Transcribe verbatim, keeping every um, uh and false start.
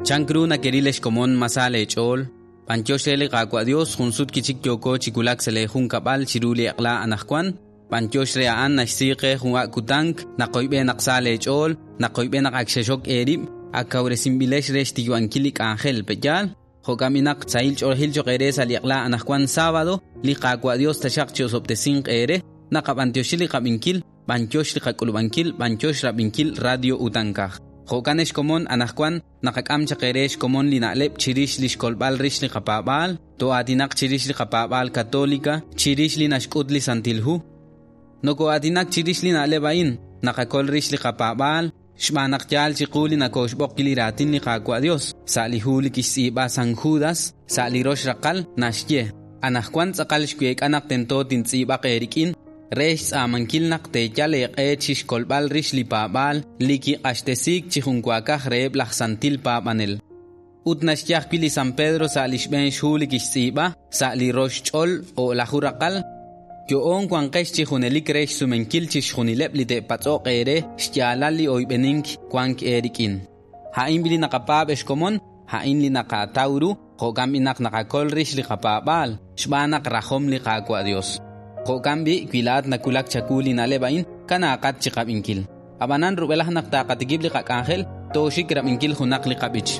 Chank ru nakeril xkomon ma sa leech'ool, b'anyox re li Qaawa' Dios jun sut kichik yooko chi wulak sa' leejunkab'al chiru li eq'la anaqwan, b'anyox re a'an naxsi qe jun ak' kutank, naqoyb'e naq sa leech'ool, naqoyb'e naq ak xexok eerib', ak kawresinb'ilex re xtiyu'ankil li k'anjel pe'yaal, jo'ka'minaq sahil ch'oolejil cho'q eere sa' li eq'la anaqwan sábado, li Qaawa' Dios taxaq chi osob'tesinq eere, naqab'antioxi li qab'inkil, b'anyox li qak'ulub'ankil, b'anyox rab'inkil Radio Utankaj. Jo'kan xkomon anaqwan naqak'am chaq eere xkomon li na'leb' chirix li xkolb'al rix li qapaab'aal, to'aatinaq chirix li qapaab'aal católica, chirix li naxk'ut li Santil Hu. Noko'aatinak chirix li na'leb' a'in, naqakol rix li qapaab'aal, xb'aan naq yaal chiqu li nakoxb'oq li raatin li Qaawa' Dios, sa' li hu li kixtz'iib'a San Judas, sa' li rox raqal naxye, anaqwan tz'aqal xweek'a naq tento tintz'iib'aq eerik'in, re xtz'aamankil naq teeyal eeq'e chi xkolb'al rix li paab'aal li kiq'axtesiik chi junwaakaj reheb' laj santil paab'anel. Ut naxye ajwi' li San Pedro sa' li xb'een xhu li kixtz'iib'a, sa' li rox ch'ol o'laju raqal, yo'on wanqex chi junelik re xsumenkil chi xjunileb' li te'patz'oq eere xyaalal li oyb'enink wank eerik'in. A'in li naqapaab' xkomon, a'in li naqataw ru, jo'kan b'i naq naqakol rix li qapaab'aal, xb'aan naq rajom li Qaawa' Dios. Jo'kan b'i wilaat nakulak chaku li na'leb' a'in, kanaaqat chi qab'inkil. Ab'anan rub'elaj naq taqatikib' li qak'anjel, tooxik rab'inkil junaq li qab'ich.